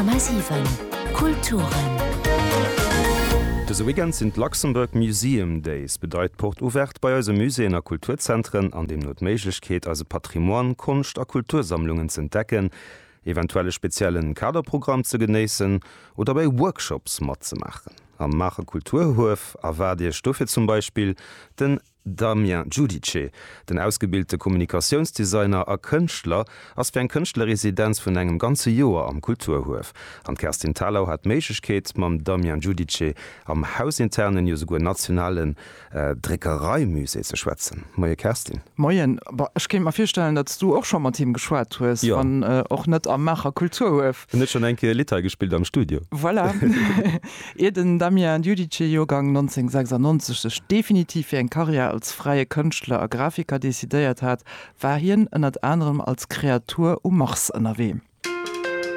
100,7 Kulturen. Dëse Weekend sinn d'Luxembourg Museum Days, bedeit Porte Ouverte bei eise Muséeën a Kulturzentren an deemno d'Méiglechkeet eise Patrimoine, Konscht a Kultursammlungen z'entdecken, eventuell e speziellen Kaderprogramm ze genéissen oder bei Workshops matzemaachen. Am Maacher Kulturhuef erwaart Iech dofir zum Beispill den Damien Giudice, den ausgebilte Kommunikatiounsdesigner a Kënschtler, ass fir eng Kënschtlerresidenz vun engem ganze Joer am Kulturhuef. An d'Kerstin Thalau hat d'Méiglechkeet, mam Damien Giudice am hausinternen, jo souguer nationalen Dréckereimusée ze schwätzen. Moie Kerstin. Moien. Bon, ech kéint mer virstellen, datt s du och scho mat him geschwat hues, wann och net am Maacher Kulturhuef. En huet schonn eng Kéier e Lidd hei gespillt am Studio. Voilà. Ier den Damien Giudice, Joergang 1996, sech definitiv fir eng Karriär als fräie Kënschtler a Grafiker decidéiert hat, war hien ënnert anerem als Kreatur um Mars ënnerwee.